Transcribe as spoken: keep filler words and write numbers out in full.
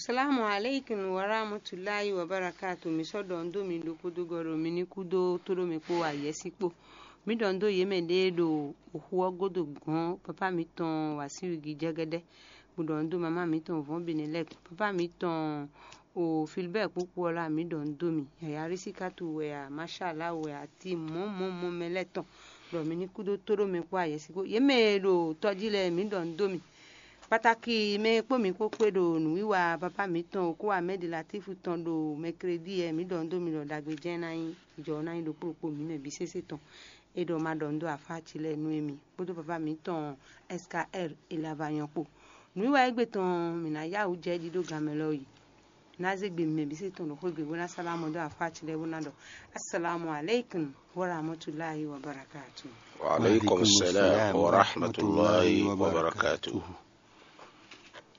Salamu aleykum warahmatulahi wabarakatu. Mi sɔ́ ɖɔ nú mi ɖokpódó gɔ́ ɖo mi ní kúdó tóɖó mi kpó ayɛ́sí kpó. Mi ɖɔ nú yě mɛ ɖé ɖo oxu ɔ́ gúdo gɔ̌n, papá mitɔn Wasiwigi jɛgɛdɛ, bó ɖɔ nú mamá mitɔn vɔ̌n Benelɛk, papá mitɔn o Filibɛ́ɛ kpókpó ɔ́ lá, mi ɖɔ nú mi. Yaya Risikatu wɛ a, Mashala wɛ a, ti mɔ̌ mɔ̌ mɔ̌ mɛ lɛ́ɛ tɔn, ɖɔ mi ní kúdó tóɖó mi kpó ayɛ́sí kpó. Yě mɛ e ɖo tɔjí lɛ́ɛ, mi ɖɔ nú mi. Kpataki mɛ e kpó mi kpó kpé ɖo nǔwiwa papá mitɔn Oku Amɛdi Latifu tɔn ɖo mɛkredi ɛ, mi ɖɔ nú mi ɖɔ ɖagbe jɛ́n ná nyí jɔ ná nyí ɖokpó ɖokpó mi mɛ bǐ sésé tɔn. É ɖɔ ma ɖɔ nú afá ci lɛ́ɛ nú émi kpódó papá mitɔn S K R Elavanyɔ kpó. Nǔwiwa égbé tɔn mǐ ná yá wǔ jɛ jí ɖó ganmɛ lɔ yi. Ná zé gbe mɛ bǐ sésé tɔn ɖo xwé gbe bó ná sálámɔ dó afá ci lɛ́ɛ bó ná ɖɔ: Assalamu alaikum wa rahmatullahi wa barakatuh. Wa alaikum salam wa rahmatullahi wa barakatuh.